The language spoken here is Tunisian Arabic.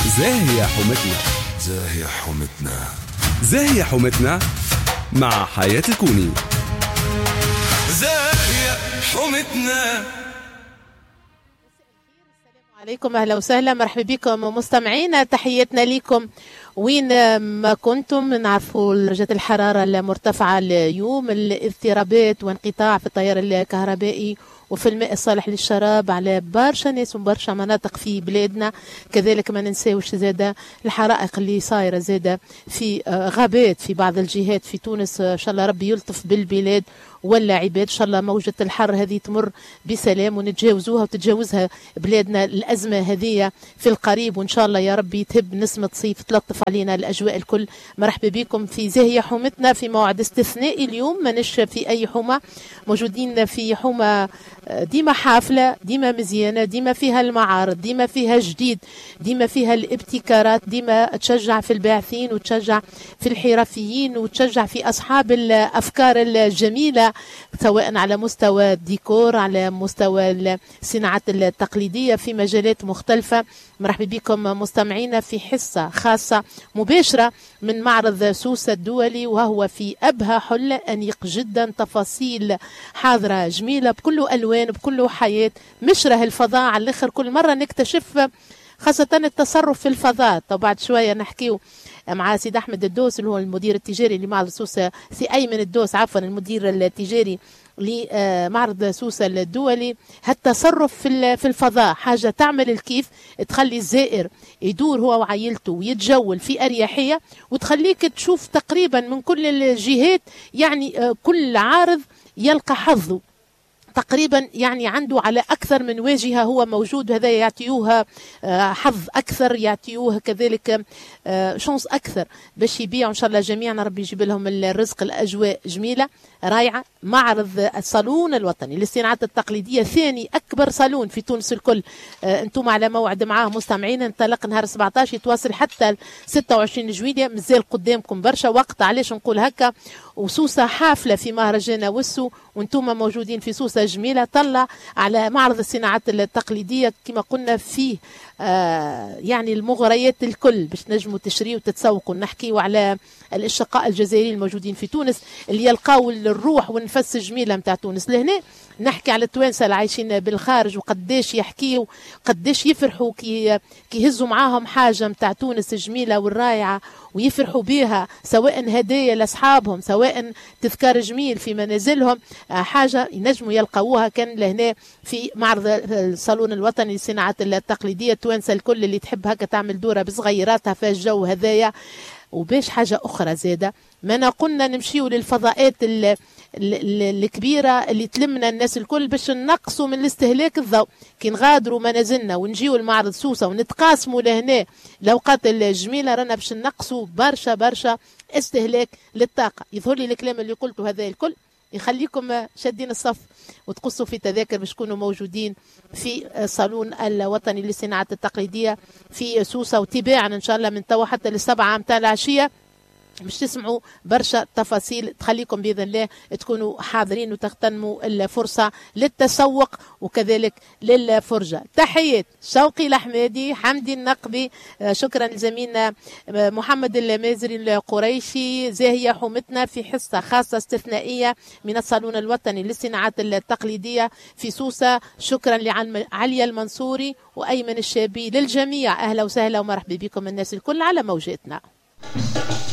زاهية حومتنا. زاهية حومتنا. زاهية حومتنا مع حياة الكوني. زاهية حومتنا. عليكم، اهلا وسهلا، مرحبا بكم مستمعينا، تحياتنا لكم وين ما كنتم. نعرفوا درجة الحرارة المرتفعة اليوم، الاضطرابات وانقطاع في التيار الكهربائي وفي الماء الصالح للشراب على برشا ناس وبرشا مناطق في بلادنا. كذلك ما ننساوش زادة الحرائق اللي صايرة زادة في غابات في بعض الجهات في تونس. إن شاء الله ربي يلطف بالبلاد ولا عباد، إن شاء الله موجة الحر هذه تمر بسلام ونتجاوزوها وتتجاوزها بلادنا الأزمة هذه في القريب، وإن شاء الله يا ربي تهب نسمة صيف تلطف علينا الأجواء الكل. مرحبا بكم في زاهية حومتنا في موعد استثنائي اليوم، ماناش في أي حومة، موجودين في حومة ديما حافلة، ديما مزيانة، ديما فيها المعارض، ديما فيها جديد، ديما فيها الابتكارات، ديما تشجع في الباعثين وتشجع في الحرفيين وتشجع في أصحاب الأفكار الجميلة، سواء على مستوى الديكور، على مستوى الصناعات التقليدية في مجالات مختلفة. مرحبا بكم مستمعينا في حصة خاصة مباشرة من معرض سوسة الدولي، وهو في أبهى حلة، أنيق جدا، تفاصيل حاضرة جميلة بكل ألوان بكل حياة، مشره الفضاء على الآخر. كل مرة نكتشف خاصة التصرف في الفضاء. طب بعد شوية نحكيو مع سيد أحمد الدوس اللي هو المدير التجاري لمعرض سوسة، سي أيمن الدوس عفوا، المدير التجاري لمعرض سوسة الدولي. هالتصرف في الفضاء حاجة تعمل الكيف، تخلي الزائر يدور هو وعائلته ويتجول في أريحية، وتخليك تشوف تقريبا من كل الجهات، يعني كل عارض يلقى حظه تقريبا، يعني عنده على أكثر من واجهة هو موجود، وهذا يعطيوها حظ أكثر، يعطيوه كذلك chance أكثر باش يبيعوا. إن شاء الله جميعا ربي يجيب لهم الرزق. الأجواء جميلة رائعة. معرض الصالون الوطني للصناعات التقليدية ثاني أكبر صالون في تونس الكل، أنتم على موعد معاه مستمعين. انطلق نهار 17 يتواصل حتى 26 جويلية، مازال قدامكم برشا وقت. علاش نقول هكا؟ وسوسة حافلة في مهرجان وسو، وانتم موجودين في سوسة جميلة. طلع على معرض الصناعات التقليدية كما قلنا فيه يعني المغريات الكل باش نجموا تشريوا وتتسوقوا. نحكيوا على الأشقاء الجزائريين الموجودين في تونس اللي يلقاو الروح والنفس الجميلة متاع تونس. لهنا نحكي على التوانسة اللي عايشين بالخارج وقداش يحكيوا، قداش يفرحوا كي يهزوا معاهم حاجة متاع تونس الجميلة والرائعة ويفرحوا بها، سواء هدايا لأصحابهم، سواء تذكار جميل في منازلهم، حاجة ينجموا يلقاوها كان لهنا في معرض الصالون الوطني للصناعات التقليدية. التوانسة الكل اللي تحب هكا تعمل دورة بصغيراتها في الجو هذايا. وباش حاجة أخرى زادة، ما قلنا نمشيو للفضاءات الكبيرة اللي تلمنا الناس الكل باش نقصوا من الاستهلاك الضوء. كي نغادروا منازلنا ونجيو لمعرض سوسة ونتقاسموا لهنا الأوقات الجميلة، رانا باش نقصوا برشا برشا استهلاك للطاقة. يظهر لي الكلام اللي قلته هذا الكل يخليكم شادين الصف وتقصوا في تذاكر باش تكونوا موجودين في الصالون الوطني للصناعات التقليدية في سوسة، وتباعا إن شاء الله من توا حتى للسبعة متاع العشية باش تسمعوا برشا تفاصيل تخليكم بإذن الله تكونوا حاضرين وتغتنموا الفرصة للتسوق وكذلك للفرجة. تحيات شوقي الأحمدي، حمدي النقبي، شكرا لزميلنا محمد المازري القريشي. زاهية حومتنا في حصة خاصة استثنائية من الصالون الوطني للصناعات التقليدية في سوسة. شكرا لعليا المنصوري وأيمن الشابي، للجميع أهلا وسهلا ومرحبا بكم الناس الكل على موجاتنا.